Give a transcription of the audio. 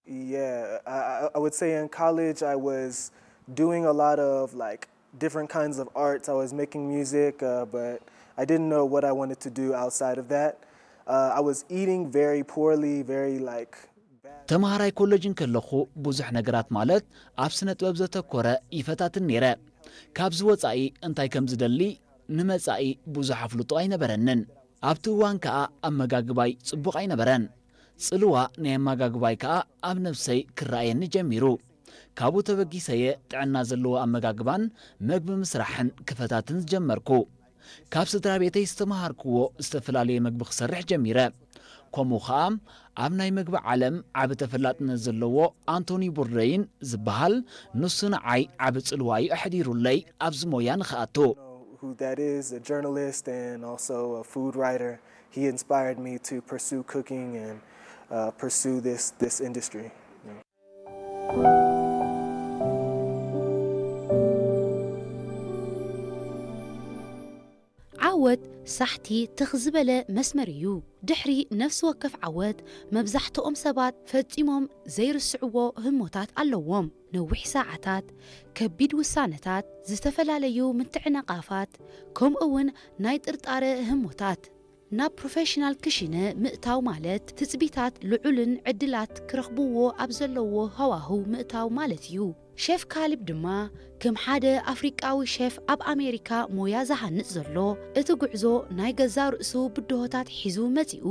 Yeah, I, I- I would say in college I was doing a lot of like different kinds of arts. I was making music, uh, but I didn't know what I wanted to do outside of that. Uh, I was eating very poorly, very like bad. ተምሃራይ ኮለጅ እንከለኹ ብዙሕ ነገራት ማለት ኣብ ስነ ጥበብ ዘተኮረ ይፈታትን ነይረ። ካብዚ ወጻኢ እንታይ ከም ዝደሊ ንመጻኢ ብዙሕ ኣፍልጦ ኣይነበረንን። ኣብቲ እዋን ከኣ ኣመጋግባይ ጽቡቕ ኣይነበረን። ጽልዋ ናይ ኣመጋግባይ ከኣ ኣብ ነብሰይ ክረኣየኒ ጀሚሩ። ካብኡ ተበጊሰየ ጥዕና ዘለዎ ኣመጋግባን መግቢ ምስራሕን ክፈታትን ዝጀመርኩ። ካብ ስድራ ቤተይ ዝተምሃርክዎ ዝተፈላለየ መግቢ ክሰርሕ ጀሚረ። ከምኡ ኸኣ ኣብ ናይ መግቢ ዓለም ዓቢ ተፈላጥነት ዘለዎ ኣንቶኒ ቦርደይን ዝበሃል ንሱ ንዓይ ዓቢ ጽልዋ እዩ ኣሕዲሩለይ ኣብዚ ሞያ ንኽኣቱ። Who that is, a journalist and also a food writer. He inspired me to pursue cooking and uh, pursue this this industry. ዓወት ሳሕቲ ትኽ ዝበለ መስመር እዩ። ድሕሪ ነፍሲ ወከፍ ዓወት መብዛሕትኦም ሰባት ፈጺሞም ዘይርስዕዎ ህሞታት ኣለዎም። ነዊሕ ሰዓታት፣ ከቢድ ውሳነታት፣ ዝተፈላለዩ ምትዕንቓፋት፣ ከምኡ እውን ናይ ጥርጣረ ህሞታት። ናብ ፕሮፌሽናል ክሽነ ምእታው ማለት ትጽቢታት ልዑልን ዕድላት ክረኽብዎ ኣብ ዘለዎ ሃዋህው ምእታው ማለት እዩ። ሸፍ ካሊብ ድማ ከም ሓደ ኣፍሪቃዊ ሸፍ ኣብ ኣሜሪካ ሞያ ዝሃንጽ ዘሎ እቲ ጉዕዞ ናይ ገዛ ርእሱ ብድሆታት ሒዙ መጺኡ።